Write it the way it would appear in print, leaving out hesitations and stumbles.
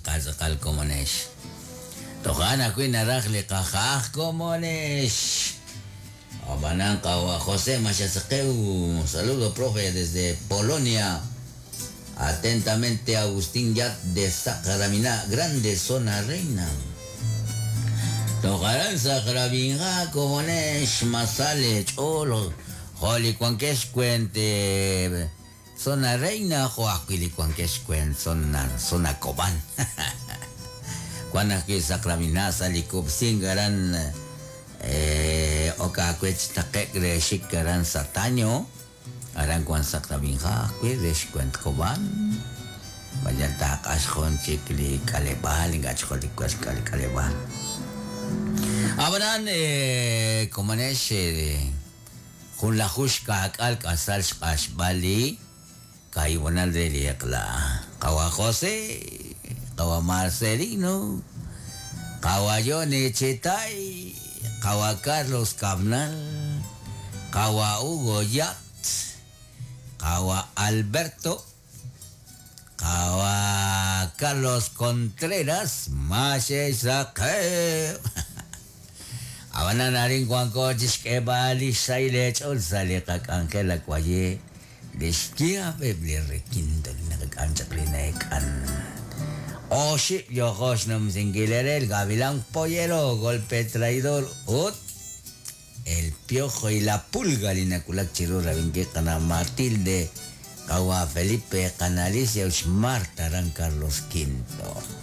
tz'aqal tz'aqal komonex. Toja' ajwi' naraj li qaja'aj komonex. Ab'anan qawa' José Maxasaqew, saludo profe desde Polonia. Atentamente Agustín Yat de Saqramina, Grande Zona Reina. Toj aran Saqrabinja komonex masale ch'ool jo' li wankex xwent Zona Reina jo' ajwi' li wankex xwent Zona Zona Cobán. Wan ajwi' Saqramina sa' li kub'sink aran ok aawe chi taqe'k re xik aran Sataño. Aran wan Saqrabinja ajwi' re xwent Cobán. Mayal taaq'ax jun chik li k'aleb'aal ink'a' chik jun li k'aleb'aal. Ab'anan komonex junlaju xkaak'al k'asal xq'axb'al li kaahib'onal re li eq'la. Qawa' José, qawa' Marcelino, qawa' Yone Chetay, qawa' Carlos Cabnal, qawa' Hugo Yat, qawa' Alberto, qawa' Carlos Contreras, maxe'xsaqew. Ab'anan arin wanko chi xk'eeb'al li xsahil eech'ool sa' li qak'anjel akwaye li xyaab' eb' li requinto li naqak'am chaq li na'eek'an. Oxib' yooko xnumsinkil eere el Gavilán Pollero, Golpe Traidor ut El Piojo y la Pulga li nawulak chiru rab'inkil qana' Matilde, qawa' Felipe, qana' Alicia ut xMarta aran Carlos Quinto.